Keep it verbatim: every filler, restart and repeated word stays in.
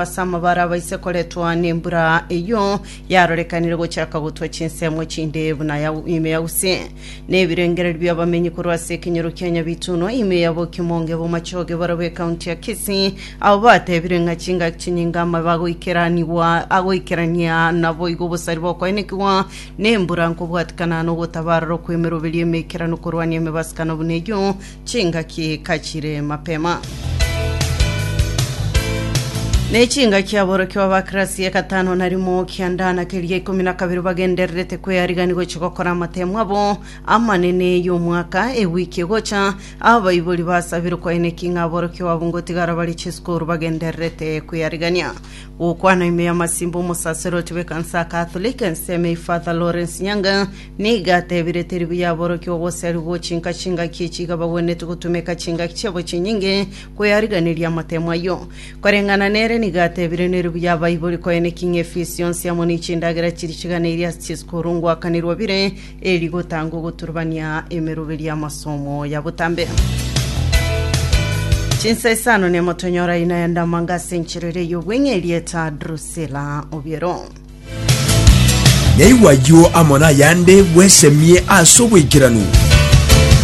Ase amabara abaise koretwa nembura eyio yarorekanire gochaka gotwa chinsemo chinde buna ya ime ya Gusii. Na ebirengererio bi'abamenyi korwa ase ekenyoro kia Nyabitunwa ime ya Bokimonge Bomachoge barabwo ekaunti ya Kisii abwo batebire ng'a chingaki chinyinge amabe agoikeranigwa agoikerania naboigo obosari bokoenekigwa nembura nkobwatikana nogotabarora kw'emeroberio emeikeranu korwania emebasikano buna eyio chingaki kachire mapema. Ne chingaki aborokigwa ba kirasi ya gatano na rimo kianda na keria ikomi na kabere bagendererete kwearigani gochia gokora amatemo abo amanene y'omwaka ewiki egocha. Abaibori basabire koeneki ng'a aborokigwa abwo ngotigara bare chisukuru bagendererete kwearigania. Gokwana ime y'amasimba omosaseroti bw'ekanisa ya Catholic ensemo eye Father Lawrence Nyanga nigo atebire teri buya aborokigwa goserigwa gochinka chingaki echi iga bagwenerete gotumeka chingaki chiabo chinyinge kweariganeria amatemo ayio. Koreng'ana nere nigo atebire nere buya abaibori koeneki ng'a efisi yonsi amo ne chindagera chiria chiganeirie ase chisukuru ngoakanirwa bire eri gotanga ogoturubania emeroberi y'amasomo ya botambe. Chinsa isano nemo tonyora ina ya ndamanga ase enchera ere y'obweng'e erieta Drusilla Obiero. Naigwa ayio amo nayande bwesemie ase oboikeranu.